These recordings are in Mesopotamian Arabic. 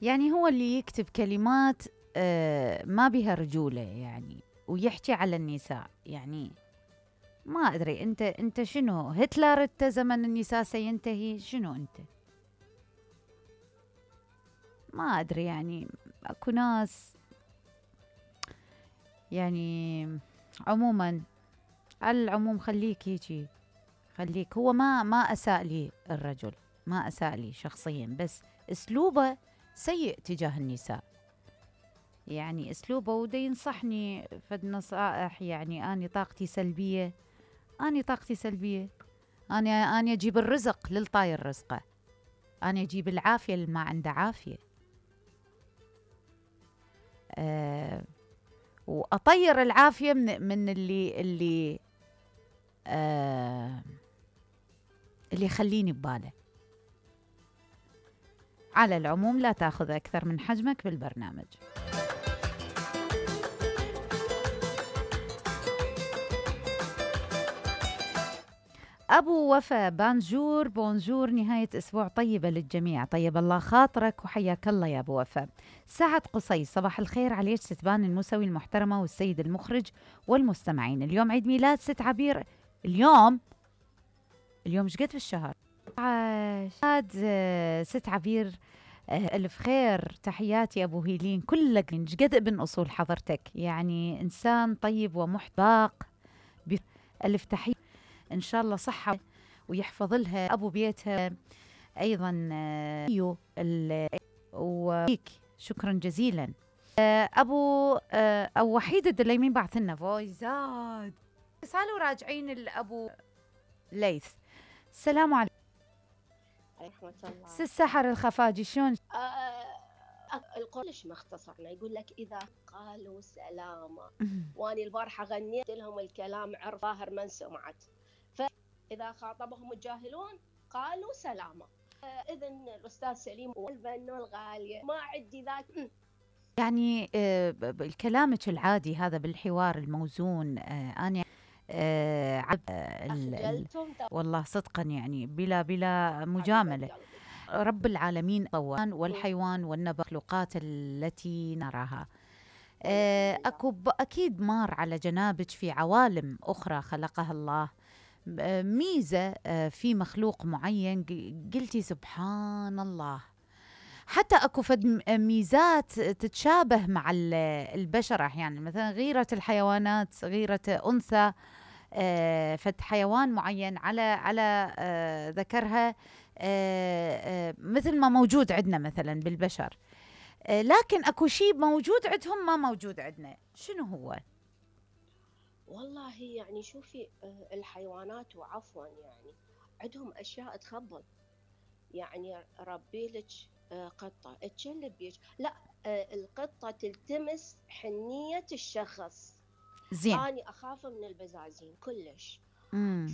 يعني هو اللي يكتب كلمات ما بها رجولة يعني، ويحكي على النساء يعني. ما أدري أنت شنو، هتلر أنت، زمن النساء سينتهي، شنو أنت؟ ما أدري يعني. أكو ناس يعني. عموما، على العموم خليك هيجي، خليك. هو ما أساء لي الرجل، ما أساء لي شخصيا، بس أسلوبه سيء تجاه النساء. يعني أسلوبه وده ينصحني فد نصائح. يعني أنا طاقتي سلبية، أنا أجيب الرزق للطاير رزقه، أنا أجيب العافية اللي ما عنده عافية، وأطير العافية من اللي يخليني بباله. على العموم، لا تأخذ أكثر من حجمك بالبرنامج. أبو وفا بانجور، بونجور، نهاية أسبوع طيبة للجميع. طيب الله خاطرك وحياك الله يا أبو وفا. سعد قصي، صباح الخير عليك ستبان المسوي المحترمة والسيد المخرج والمستمعين. اليوم عيد ميلاد ست عبير. اليوم ايش قد بالشهر؟ عاد ست عبير. ألف خير، تحياتي أبو هيلين، كلك قد ابن أصول حضرتك، يعني إنسان طيب ومحتاق. ألف تحية، إن شاء الله صحة ويحفظ لها أبو بيتها أيضا. وفيك شكرا جزيلا. أبو أو وحيد الدليمين بعث لنا فويزات. سالوا راجعين الأبو ليث. السلام عليكم. رحمة الله. السحر الخفاجي شلون؟ القرش مختصرنا، يقول لك إذا قالوا سلامة. واني البارحة غنيت لهم الكلام، عرف ظاهر من سمعت. فإذا خاطبهم الجاهلون قالوا سلامة. إذن الأستاذ سليم والبنو الغالية ما عندي ذاك. يعني كلامك العادي هذا بالحوار الموزون، أنا والله صدقا يعني بلا مجاملة. رب العالمين طوان والحيوان والنبات التي نراها. أكيد مار على جنابك في عوالم أخرى خلقها الله، ميزة في مخلوق معين قلتي سبحان الله. حتى أكو فد ميزات تتشابه مع البشر أحيانا، مثلا غيرة الحيوانات، غيرة أنثى فد حيوان معين على ذكرها، مثل ما موجود عندنا مثلا بالبشر. لكن أكو شيء موجود عندهم ما موجود عندنا، شنو هو؟ والله يعني شوفي، الحيوانات وعفوا يعني عندهم أشياء تخبل. يعني ربي لك قطة تشلب بيك، لا القطة تلتمس حنية الشخص. زين. أنا أخاف من البزازين كلش.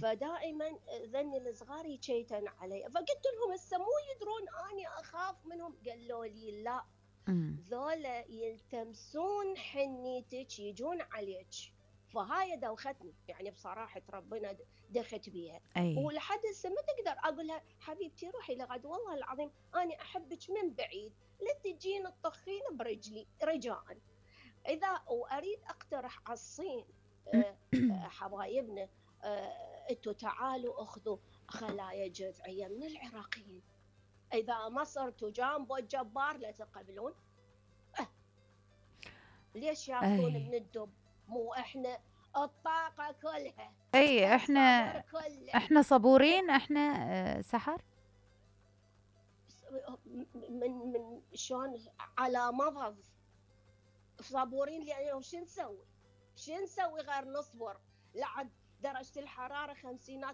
فدائما ذني الصغار يشيتن علي، فقلت لهم هسه مو يدرون أني أخاف منهم. قالوا لي لا، ذولا يلتمسون حنيتك، يجون عليك. فهاي دوختني يعني بصراحة ربنا دخت بيها. ولحد هسه ما تقدر أقول لها حبيبتي روحي لغد، والله العظيم أنا أحبك من بعيد، لا تجين الطخين برجلي رجاء. إذا وأريد أقترح على الصين، حبايبنا، انتوا تعالوا اخذوا خلايا جذعية من العراقيين. إذا ما صرتوا جامبو الجبار لا تقبلون. ليش ياخذون من الدب؟ مو احنا الطاقة كلها. احنا صبورين، احنا سحر من شلون على مضض صبورين. لأنه شو نسوي غير نصبر لعد درجة الحرارة 50